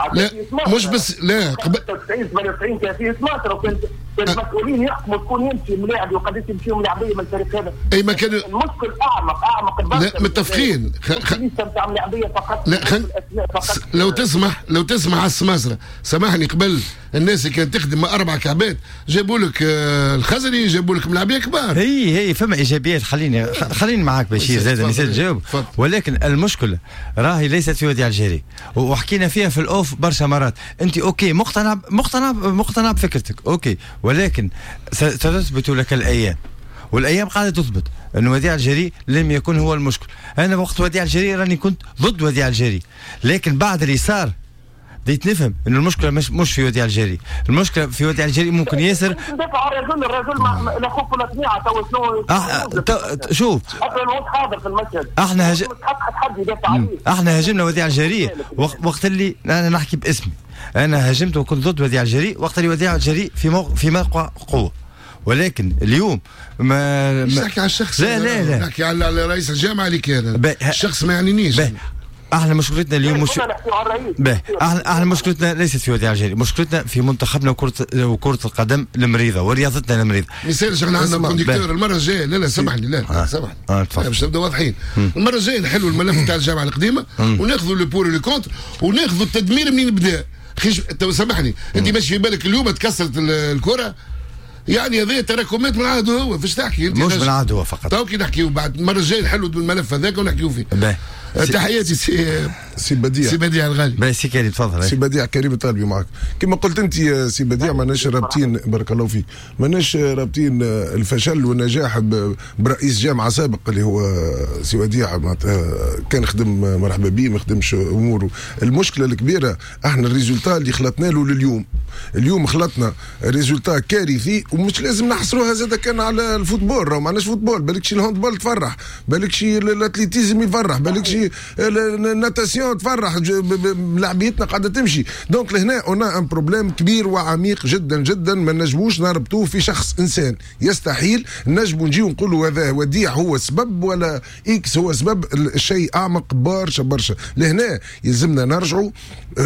لا مش بس لا قبل تسعين ثمانية وتسعين كان فيه مصر، وكان المسؤولين يحكموا شكون يمشي ملاعب وقداش يمشيوا ملاعبيه من الفريق هذا. اي ما كان المشكل اعمق اعمق برشا. لا متفقين خ... خ... نتاع ملاعبيه فقط. لا خل... فقط. لو تسمح لو تسمح على السماسره، سامحني قبل الناس اللي كانت تخدم مع اربع كعبات جابوا لك الخزري، جابوا لك ملاعبيه كبار. هي هي فما ايجابيات. خليني خليني معاك بشير زاد نسيت نجاوب، ولكن المشكلة راهي ليست في وديع الجريء وحكينا فيها في ال off برشا مرات. انت OK مقتنع مقتنع مقتنع بفكرتك OK، ولكن ستثبت لك الايام، والايام قاعدة تثبت ان وديع الجريء لم يكن هو المشكل. انا وقت وديع الجريء راني كنت ضد وديع الجريء، لكن بعد اللي صار بديت نفهم ان المشكلة مش مش في وديع الجريء، المشكلة في وديع الجريء ممكن ياسر ندافع على الرجل، الرجل ما لا خوف ولا طميعه. تو شنو أه شوف حاضر في المشهد، احنا هج... حد يدافع عليه. احنا هاجمنا وديع الجريء وقت اللي انا نحكي باسمي، انا هاجمت وكنت ضد وديع الجريء وقت اللي وديع الجريء في موقع في موقع قوة، ولكن اليوم ما مش نحكي على الشخص، لا لا لا نحكي على رئيس الجامعة اللي كان الشخص ما يعنينيش. احنا مشكلتنا اليوم مش باهي، احنا احنا مشكلتنا ليست في وديع الجريء، مشكلتنا في منتخبنا وكرة وكرة القدم المريضة ورياضتنا المريضة. ما يصيرش احنا عندنا conducteur المرة الجاية. لا لا سامحني، لا آه. سامحني آه. باش نبداو واضحين. المرة الجاية نحلوا الملف تاع الجامعة القديمة وناخذوا le pour le contre وناخذوا التدمير منين بدا. خيش سامحني انت ماشي في بالك اليوم تكسرت الكرة، يعني هذه تراكمات من عهده هو. فاش تحكي انت؟ مش من عهده هو فقط. تو كي نحكيو بعد المرة الجاية نحلوا الملف هذاك ونحكيو فيه. باهي. تحياتي سي سي بديع، سي بديع الغالي. سي كريم تفضل. سي بديع كريم الطالبي معك. كما قلت انت سي بديع، ماناش رابطين، بارك الله فيك، ماناش رابطين الفشل والنجاح برئيس جامعه سابق اللي هو سي وديع، كان خدم مرحبا بيه، ما خدمش اموره. المشكلة الكبيرة احنا ال résultat اللي خلطنا له لليوم، اليوم خلطنا résultat كارثي، ومش لازم نحصروها زاد كان على ال football، راهو ما عندناش football، بالك شي ال handball تفرح، بالك شي ال athlétisme يفرح، بالك شي ال natation تفرح، لاعبيتنا قاعدة تمشي. donc لهنا on a un problème كبير وعميق جدا جدا، ما نجموش نربطوه في شخص انسان، يستحيل نجمو نجيو نقولوا هذا وديع هو السبب ولا X هو سبب. الشيء اعمق برشا برشا. لهنا يلزمنا نرجعوا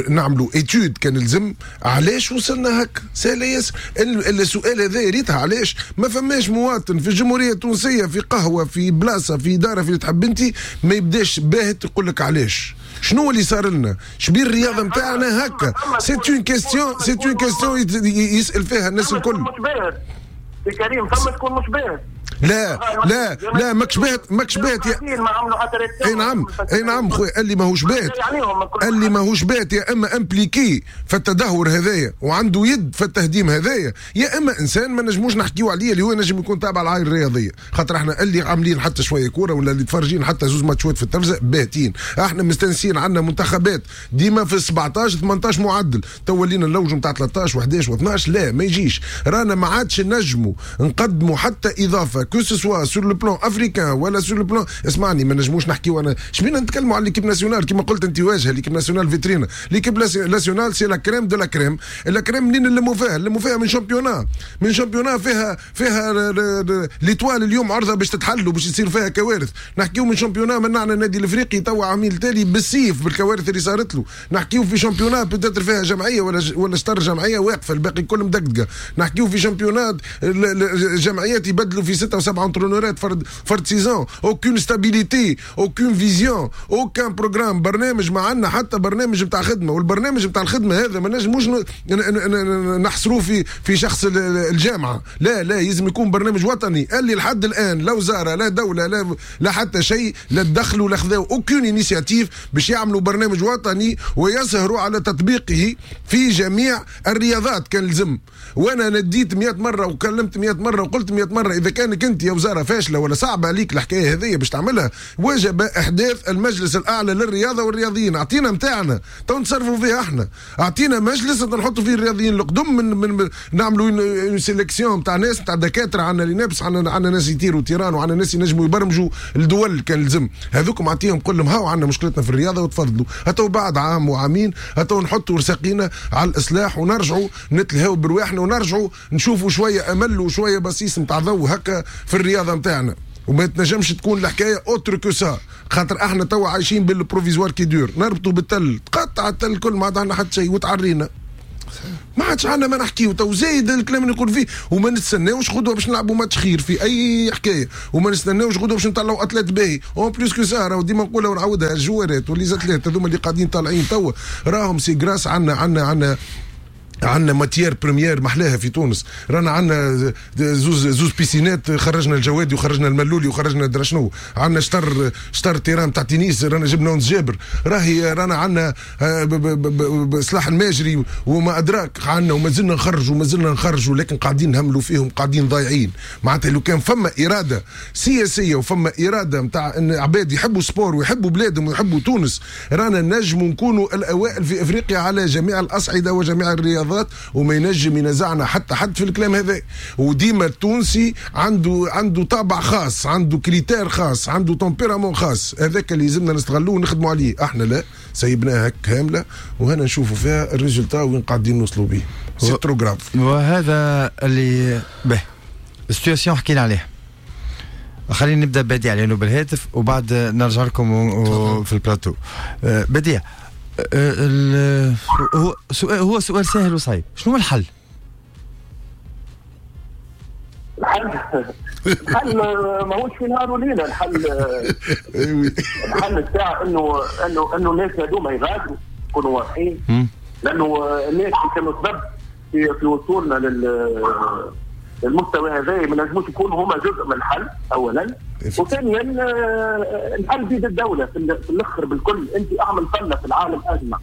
نعملوا étude كان لزم علاش وصلنا هكا. سهل ياسر السؤال هذا، ريتها علاش ما فماش مواطن في الجمهورية التونسية في قهوة في بلاصة في ادارة في اللي تحب انت ما يبداش باهت يقول لك علاش، شنو اللي صار لنا، شبيه الرياضة نتاعنا هكا. c'est une question، c'est une question يسال فيها الناس الكل. سي كريم فما تكون مش باهت. لا لا لا ماكش باهت، ماكش باهت. اي نعم اي نعم خويا، اللي ماهوش باهت، اللي ماهوش باهت يا اما impliqué في التدهور هذايا وعنده يد في التهديم هذايا، يا اما انسان ما نجموش نحكيو عليه اللي هو نجم يكون تابع العائلة الرياضية، خاطر احنا اللي عاملين حتى شوية كورة ولا اللي تفرجين حتى زوز ماتشات في التلفزة باهتين. احنا مستنسين عندنا منتخبات ديما في سبعطاش ثمنطاش معدل، تو ولينا نلوجوا نتاع ثلاثطاش وحداش واثناش، لا ما يجيش. رانا ما عادش نجموا نقدموا حتى اضافه que ce soit sur le plan africain ولا sur le plan. اسمعني، ما نجموش نحكيو انا شبينا نتكلموا على l'équipe nationale كيما قلت انت، واجهه l'équipe nationale vitrine، l'équipe nationale c'est la crème de la crème. la crème منين نلموا فيها؟ نلموا فيها من championnat، من championnat فيها فيها l'Étoile اليوم عرضه باش تتحل وباش يصير فيها كوارث. نحكيو من championnat منعنا النادي الافريقي توا عميل تالي بالسيف بالكوارث اللي صارت له. نحكيو في championnat peut-être فيها جمعية ولا ولا شطر جمعية واقفة، الباقي كل مدقدقه. نحكيو في championnat جمعيات يبدلوا في ستة وسبعة entraîneur ات فرد فرد saison، aucune stabilité، aucune vision، aucun programme، برنامج ما عندنا حتى برنامج نتاع خدمة. والبرنامج نتاع الخدمة هذا ما نجموش نحصروه في في شخص الجامعة، لا لا، لازم يكون برنامج وطني اللي لحد الان لا وزارة لا دولة لا لا حتى شيء لا تدخلوا لا خذاو aucune initiative باش يعملوا برنامج وطني ويسهروا على تطبيقه في جميع الرياضات كان لزم. وانا نديت مئة مرة وكلمت مئة مرة وقلت مئة مرة، اذا كانك انت يا وزارة فاشلة ولا صعبة عليك الحكاية هذه باش تعملها، وجب احداث المجلس الاعلى للرياضة والرياضيين. اعطينا نتاعنا تو نتصرفوا فيها احنا، اعطينا مجلس نحطوا فيه الرياضيين القدم، من, من نعملوا une sélection تاع ناس تاع دكاترة، عندنا اللي نابس، عندنا عندنا ناس يطيروا طيران، وعندنا ناس ينجموا يبرمجوا الدول كان لزم. هذوكم اعطيهم كلهم لهم هاو عندنا مشكلتنا في الرياضة وتفضلوا. هتو بعد عام وعامين هتو نحطوا رساقينا على الاصلاح ونرجعوا نتلهوا برواحنا ونرجعوا نشوفوا شوية امل وشوية بصيص نتاع ضوء هكا في الرياضة نتاعنا. وما تنجمش تكون الحكاية autre que ça، خاطر احنا توا عايشين بال provisoire qui dure، نربطوا بالتل، تقطع التل الكل، ما عاد عندنا حتى شيء وتعرينا، ما عادش عندنا ما نحكيو. تو زايد الكلام اللي نقول فيه، وما نستناوش غدوه باش نلعبوا ماتش خير في اي حكاية، وما نستناوش غدوه باش نطلعوا athlète باهي. en plus que ça راهو ديما نقولها ونعاودها، ال joueur ات و les athlètes هذوما اللي قاعدين طالعين توا راهم c'est grâce عندنا عندنا عندنا عندنا matière première محلاها في تونس. رانا عندنا زوز زوز piscine ات، خرجنا الجوادي وخرجنا الملولي وخرجنا درشنو، عندنا شطر شطر terrain تاع تنس، رانا جبنا ونس جابر، راهي رانا عندنا سلاح الماجري وما ادراك عندنا، وما زلنا نخرجوا وما زلنا نخرجوا، لكن قاعدين نهملوا فيهم، قاعدين ضايعين. معناتها لو كان فما اراده سياسية وفما اراده نتاع ان عباد يحبوا sport ويحبوا بلادهم ويحبوا تونس، رانا نجموا نكونوا الاوائل في افريقيا على جميع الاصعدة وجميع الرياضات، وما ينجم ينزعنا حتى حد في الكلام هذا. وديما التونسي عنده عنده طابع خاص، عنده critère خاص، عنده tempérament خاص، هذاك اللي لازمنا نستغلوه ونخدموا عليه. احنا لا، سيبناها كاملة وهنا نشوفوا فيها ال résultat وين قاعدين نوصلوا به. c'est trop grave. وهذا اللي به ال situation حكينا عليه. خلينا نبدا بديع لانه بالهاتف وبعد نرجع لكم في البلاتو. بديع، هو سؤال هو سؤال سهل وصعيب، شنو هو الحل؟ الحل الحل ماهوش في نهار وليلة. الحل الحل بتاع انه انه انه الناس هذوما يغادروا، يكونوا واضحين، لانه الناس اللي كانوا سبب في في وصولنا لل المستوى هذا ما نجموش يكونوا هما جزء من الحل اولا، وثانيا الحل بيد الدولة في الاخر بالكل. انت اعمل فله في العالم اجمع،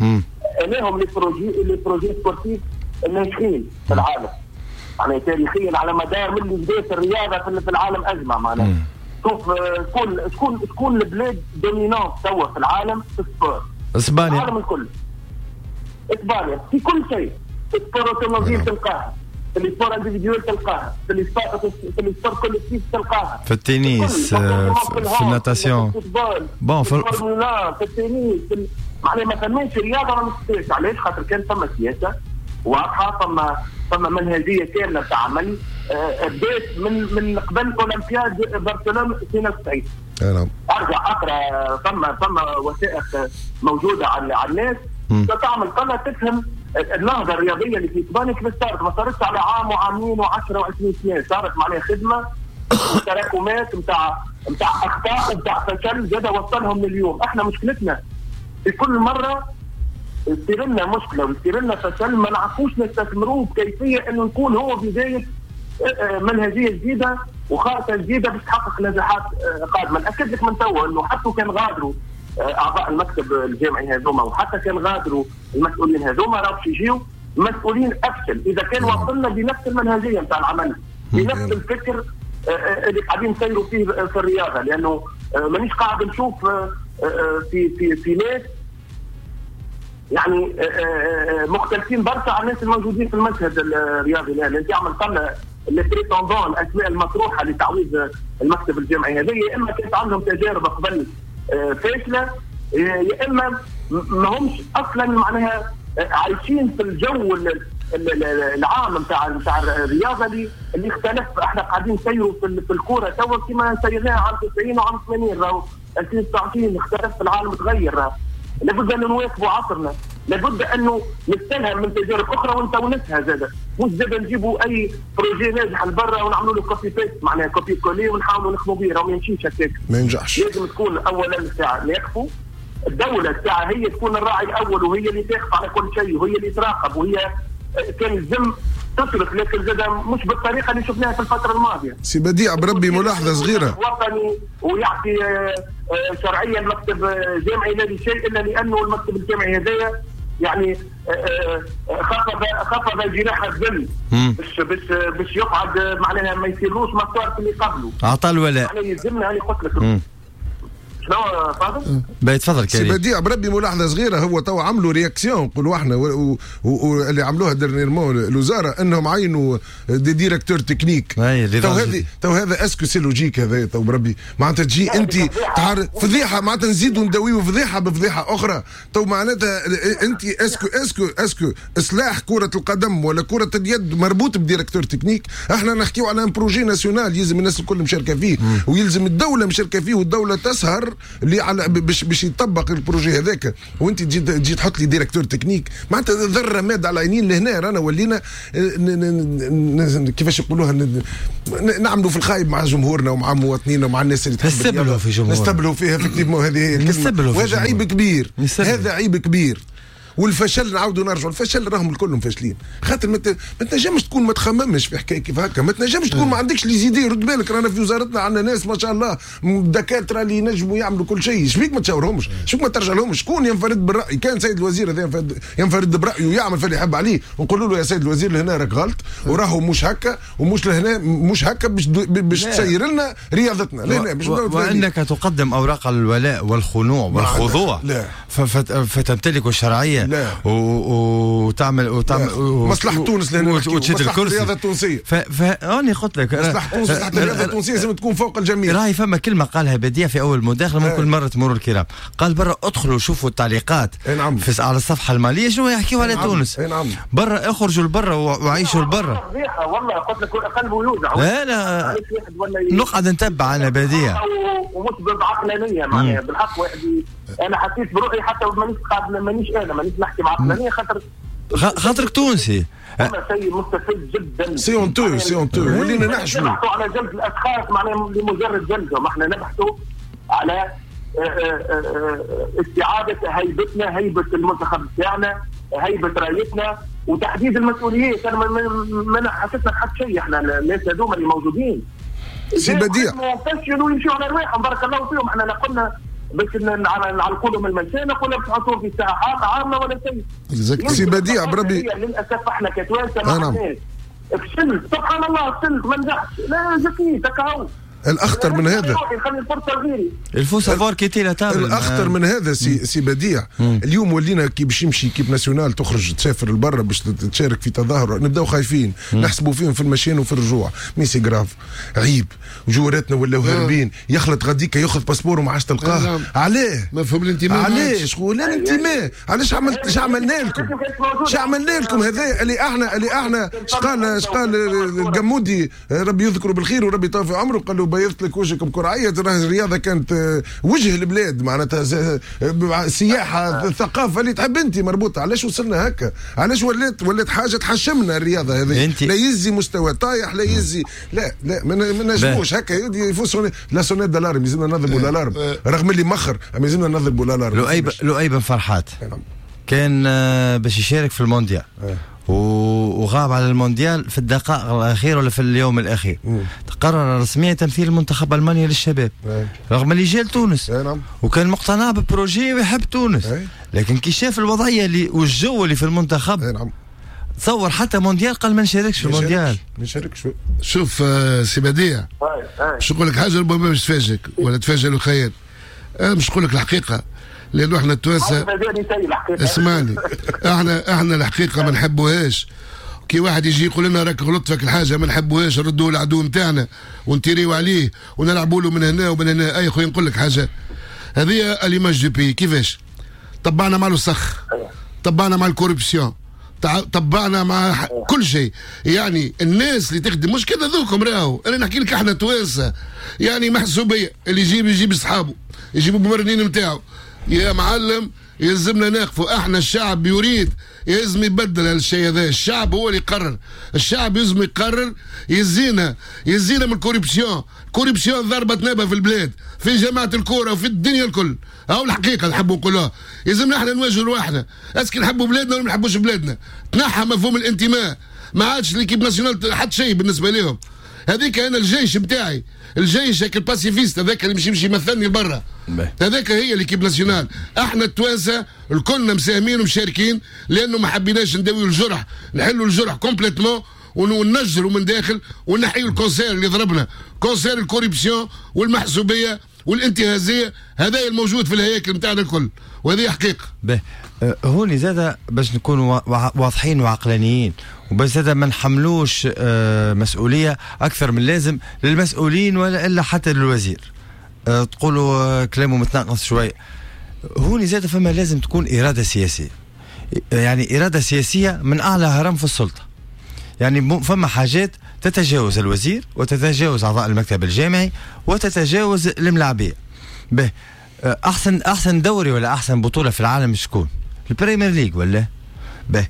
اناهم les projets les projets sportifs الناجحين في العالم، يعني تاريخيا على مدار من بداية الرياضة في العالم اجمع. معناها شوف شكون شكون شكون البلاد dominante توا في العالم في ال sport؟ اسبانيا. العالم الكل اسبانيا في كل شيء، sport automobile تلقاها، في ال sport individuel تلقاها، في ال sport في ال sport collectif تلقاها، في التنس، في ال natation، bon في في التنس، معناها ما فماش رياضة ما مستفادش. علاش؟ خاطر كان فما سياسة واضحة، فما فما منهجيه كاملة تاع عمل بدات من من قبل اولمبياد برشلونة اثنين وتسعين. نعم. ارجع اقرا، فما فما وثائق موجودة على على الناس تعمل طلع تفهم النهضة الرياضية اللي في اسبانيا كيف صارت. ما صارتش على عام وعامين وعشرة وعشرين سنة، صارت معناها خدمة تراكمات نتاع نتاع اخطاء ونتاع فشل زاد وصلهم لليوم. احنا مشكلتنا في كل مرة يصير لنا مشكلة ويصير لنا فشل ما نعرفوش نستثمروه بكيفية انه نكون هو بداية منهجيه جديدة وخارطه جديدة باش تحقق نجاحات قادمة. ناكد لك من توا انه حتى كان غادروا اعضاء المكتب الجامعي هذوما وحتى كان غادروا المسؤولين هذوما، راه باش يجيو مسؤولين افشل اذا كان وصلنا بنفس المنهجية نتاع العمل، بنفس الفكر اللي قاعدين نسيروا فيه في الرياضة. لانه مانيش قاعد نشوف في في في ناس يعني مختلفين برشا عن الناس الموجودين في المشهد الرياضي الان. انت عمل طلع les prétendants، الاسماء المطروحة لتعويض المكتب الجامعي هذه، يا اما كانت عندهم تجارب قبل فاشلة، يا اما ما همش اصلا معناها عايشين في الجو العام نتاع نتاع الرياضة اللي اللي اختلف. احنا قاعدين نسيروا في الكورة توا كما سيرناها عام تسعين وعام ثمانين، راهو ألفين وتسعة عشر اختلف العالم، تغير. لابد ان نواكبوا عصرنا، لابد انه نستلهم من تجارب اخرى ونتونسها زاده، مش زاده نجيبوا اي projet ناجح لبرا ونعملوا له copy paste، معناها copier coller ونحاولوا نخدموا به، راه ما يمشيش هكاك، ما ينجحش. لازم تكون اولا الساعة نقفوا، الدولة الساعة هي تكون الراعي الاول وهي اللي تقف على كل شيء وهي اللي تراقب وهي كان الزم تصرف، لكن زاد مش بالطريقة اللي شفناها في الفترة الماضية. سي بديع بربي ملاحظة صغيرة، وطني ويعطي شرعية المكتب الجامعي لا لشيء الا لانه المكتب الجامعي هذايا يعني خفض خفض جناح الذل باش باش باش يقعد معناها ما يصيروش ما صار في اللي قبله، عطى الولاء. يعني يلزمنا هاني قلت لك شنو فاضل؟ باهي تفضل كريم. سي بديع بربي ملاحظة صغيرة، هو تو عملوا réaction نقولوا احنا واللي عملوها dernièrement الوزارة انهم عينوا des directeurs techniques. تو هذه تو هذا est-ce que c'est logique هذا؟ تو بربي معناتها تجي انت تعرف فضيحة، معناتها نزيدوا نداويو فضيحة بفضيحه اخرى. تو معناتها انت est-ce que est-ce que est-ce que اصلاح كره القدم ولا كره اليد مربوط ب directeur technique؟ احنا نحكيو على un projet national يلزم الناس الكل مشاركة فيه، ويلزم الدولة مشاركة فيه، والدولة تسهر اللي على باش باش يطبق ال projet هذاك. وانت تجي تجي تحط لي directeur technique، معناتها ذره ماد على العينين. لهنا رانا ولينا كيفاش يقولوها، نعملوا في الخايب مع جمهورنا ومع مواطنينا ومع الناس اللي تحب نستبلوا في جمهورنا، نستبلوا فيها effectivement. هذه هي الكلمة، وهذا عيب كبير، هذا عيب كبير. والفشل نعاودوا نرجعوا الفشل، راهم الكلهم فاشلين، خاطر ما تنجمش تكون ما تخممش في حكاية كيف هكا، ما تنجمش تكون ما عندكش les idées. رد بالك رانا في وزارتنا عندنا ناس ما شاء الله دكاترة اللي ينجموا يعملوا كل شيء، شبيك ما تشاورهمش؟ شبيك ما ترجع لهمش؟ شكون ينفرد بالراي؟ كان سيد الوزير هذا ينفرد, ينفرد برايه ويعمل في اللي يحب عليه، ونقولوا له يا سيد الوزير لهنا راك غلط، وراهو مش هكا ومش لهنا مش هكا باش باش تسير لنا رياضتنا لهنا باش و... وانك تقدم اوراق الولاء والخنوع والخضوع فتمتلك الشرعية وتعمل وتعمل مصلحة تونس لهنا وتشد الكرسي الرياضة التونسية. فأني قلت لك مصلحة تونس، مصلحة الرياضة التونسية لازم تكون فوق الجميع. راهي فما كلمة قالها بديع في أول مداخلة ممكن مرة مرور الكرام، قال برا ادخلوا شوفوا التعليقات نعم. في على الصفحة المالية شنو يحكيوا على نعم. تونس. نعم. برا اخرجوا لبرا وعيشوا لبرا. والله قلت لك قلبه يوجع. لا لا نقعد نتبع أنا بديع ومش بعقلانية معناها بالحق. واحد أنا حسيت بروحي حتى مانيش قاعد مانيش أنا مانيش نحكي بعقلانية خاطر خاطرك تونسي. شيء مستفز جدا. c'est honteux c'est honteux ولينا نحشموا. نبحثوا على جلد الاشخاص معناها لمجرد جلدهم، احنا نبحثوا على استعاده هيبتنا، هيبة المنتخب تاعنا، هيبة رايتنا. وتحديد المسؤوليات. انا ما ما حسيتنا حتى شيء، احنا الناس هذوما اللي موجودين سي بديع فشلوا ويمشوا على رواحهم، بارك الله فيهم. احنا لا قلنا باش نعلقوا لهم المنشأ، قلنا باش نحطوهم في ساحات عامة ولا شيء. سي بديع بربي للاسف احنا كتوانسه ما عندناش، فشلت سبحان الله، فشلت ما نجحتش، لا زكيت هكا. الاخطر من هذا خلي الفرصة لغيري، il faut savoir quitter la table. الاخطر من هذا سي سي بديع، اليوم ولينا كي باش يمشي équipe nationale تخرج تسافر لبرا باش تشارك في تظاهر نبداو خايفين، نحسبوا فيهم في المشيان وفي الرجوع. mais c'est grave، عيب، جواراتنا ولاو هاربين، يخلط غاديكا ياخذ passeport وما عادش تلقاه. علاه؟ مفهوم الانتماء. علاش؟ ولا الانتماء علاش؟ عملت اش عملنا لكم؟ اش عملنا لكم؟ هذا اللي احنا اللي احنا اش قال اش قال القمودي، ربي يذكره بالخير وربي يطول في عمره، قال له بيضت لك وجهك بكرعيه. الرياضة كانت وجه البلاد، معناتها سياحة، الثقافة اللي تحب انت مربوطة. علاش وصلنا هكا؟ علاش ولات ولات حاجة تحشمنا الرياضة هذه؟ لا يزي مستوى طايح، لا يزي، لا لا ما نجموش هكا. il faut sonner la sonnette d'alarme، يلزمنا نضربوا l'alarme رغم اللي مخر، اما يلزمنا نضربوا l'alarme. لؤي لؤي بن فرحات كان باش يشارك في المونديال وغاب على المونديال في الدقائق الاخيرة ولا في اليوم الاخير. تقرر رسميا تمثيل المنتخب المانيا للشباب رغم اللي جا لتونس وكان مقتنع ب projet ويحب تونس، لكن كي شاف الوضعية اللي والجو اللي في المنتخب تصور حتى مونديال قال ما نشاركش في المونديال. ما نشاركش. شوف سي بديع، باش نقول لك حاجة ربما مش تفاجئك ولا تفاجئ الخيال، انا مش نقول لك الحقيقة لانه احنا التوانسة، اسمعني، احنا احنا الحقيقة ما نحبوهاش. كي واحد يجي يقول لنا راك غلطت فيك الحاجة ما نحبوهاش، نردوه العدو نتاعنا ونتيريو عليه ونلعبوا له من هنا ومن هنا. اي خويا نقول لك حاجة، هذه l'image du pays كيفاش طبعنا مع الوسخ، طبعنا مع ال corruption، طبعنا مع كل شيء. يعني الناس اللي تخدم مش كذا ذوكم، راهو انا نحكي لك احنا توانسة يعني محسوبيه، اللي يجيب يجيب اصحابه، يجيبوا الممرنين نتاعو. يا معلم يلزمنا نقفوا، احنا الشعب يريد، يلزم يبدل هالشيء هذا. الشعب هو اللي يقرر، الشعب يلزم يقرر، يزينا يزينا من ال corruption. ال corruption ضربت نابه في البلاد، في جماعة الكورة وفي الدنيا الكل. هاو الحقيقة نحبوا نقولوها، يلزمنا احنا نواجهوا رواحنا، est-ce que نحبوا بلادنا ولا ما نحبوش بلادنا. تنحى مفهوم الانتماء، ما عادش l'équipe nationale حتى شيء بالنسبة لهم. هذيك انا الجيش بتاعي، الجيش هيك ال pacifiste هذاك اللي مش يمشي يمثلني لبرا، هذاك هي l'équipe nationale. احنا التوانسة الكلنا مساهمين ومشاركين، لانه ما حبيناش نداويو الجرح، نحلوا الجرح complètement وننجروا من داخل ونحيوا ال cancer اللي ضربنا، cancer ال corruption والمحسوبيه والانتهازيه، هذا الموجود في الهياكل نتاعنا الكل، وهذه حقيقة. به هوني زاد باش نكونوا واضحين وعقلانيين، وبس زاد ما نحملوش مسؤولية اكثر من اللازم للمسؤولين ولا الا حتى للوزير. تقولوا كلامه متناقض شوية. هوني زاد فما لازم تكون اراده سياسية، يعني اراده سياسية من اعلى هرم في السلطة. يعني فما حاجات تتجاوز الوزير وتتجاوز اعضاء المكتب الجامعي وتتجاوز الملاعبيه. به احسن احسن دوري ولا احسن بطوله في العالم شكون؟ ال Premier League ولا؟ به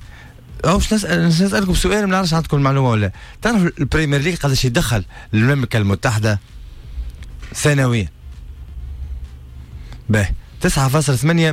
او باش نسال نسالكم سؤال ما نعرفش عندكم المعلومة ولا. تعرف ال Premier League قداش يدخل للمملكة المتحدة سنويا؟ به تسعة فاصلة ثمانية